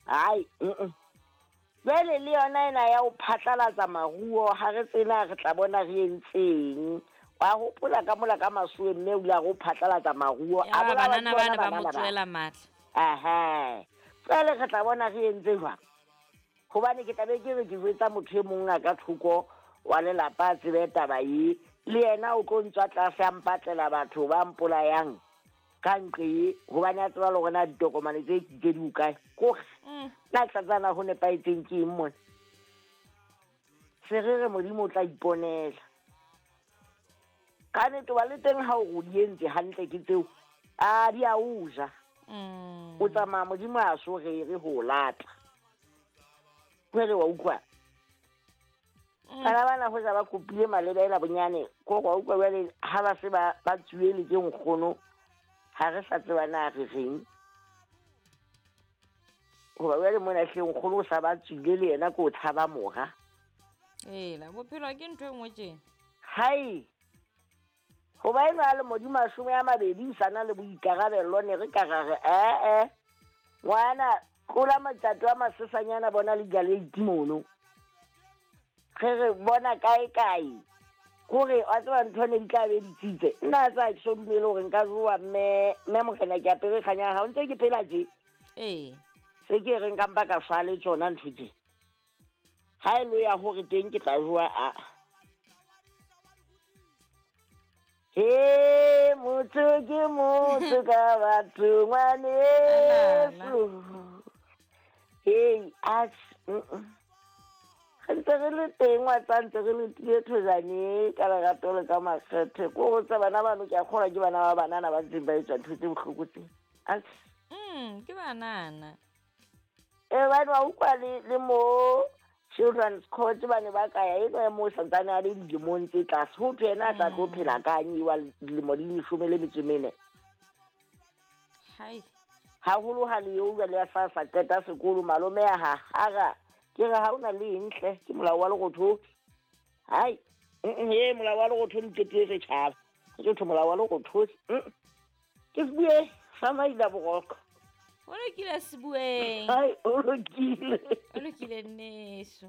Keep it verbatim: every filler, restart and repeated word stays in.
Hai, mm. Jwale le yona ena ya ho phatlalatsa maruo ha re tsena re tla bona re entseng. Wa hopola ka mola ka masuwe mme o ile a re o phatlalatsa maruo. A banana bana ba mo tsoela matla. Aha. Jwale re tla bona re entse jwang? Hobane ke tla be ke re ke jwetsa motho e mong a ka thoko wa lelapa a tsebe taba e. Le yena o tlo ntswa tlase a mpatlela batho ba mpolayang ka nqe hobane a tseba le hore na ditokomane tse ke di kae. Kore nna tlatsana ho nepahetseng ke eng mona? Se re re Modimo o tla iponela. Ka nnete wa le teng ha o di entse hantle ke tseo, a di a o ja. O tsamaya Modimo a so rere ho lata. Jwale wa utlwa? Bana bana ho ja ba kopile malebela bonyane ko wa utlwa jwale ha ba se ba ba tsuele ke nkgono ha re sa tseba na re reng. Hoba jwale mona hle nkgono o sa ba tswile le yena ko tshaba mora. Ela bophelo ke ntho e nngwe tjena. Hai. Hoba ena le Modimo mashome a mabedi o sana le boikarabello ne re ka ra re eh eh ngwana tlola matjato a masesanyana bona le galeiti mono. Re re bona kae kae. Kore wa tseba ntho ne di tla be di tsitse. Nna tsa ke so dumele hore nka jowa mme mme morena ke apere kganya ha o ntse ke phela tje. Ee. Se ke re nka mpa ka fa le tsona ntho tje. Ha e lo ya hore teng ke tla jowa a. He motho ke motho ka batho ngwaneso. Hey, as re ntse re le teng wa tsa ntse re le tile thojane ka lerato le ka makgethe. Ko ho tsa bana bano ke a kgolwa ke bana ba banana ba ntseng ba etsa ntho tse bohloko tse. As mm ke banana. Eh bana wa utlwa le le mo Children's Court ba ne ba ka ya eno ya mo santsane a le dilemong tse tlase. Ho thwe yena a tla tlo phela kang wa dilemo di leshome le metso e mene. Hai. Haholo ha le eo jwale a sa sa qeta sekolo malome a ha hara ke re ha ona le eng hle ke molao wa lerotho. Hai, he molao wa lerotho di qetile setjhaba. Ke thwe molao wa lerotho. Ke bue sa maila boroko. O lokile Sebueng. Hai, o lokile. O lokile nneso.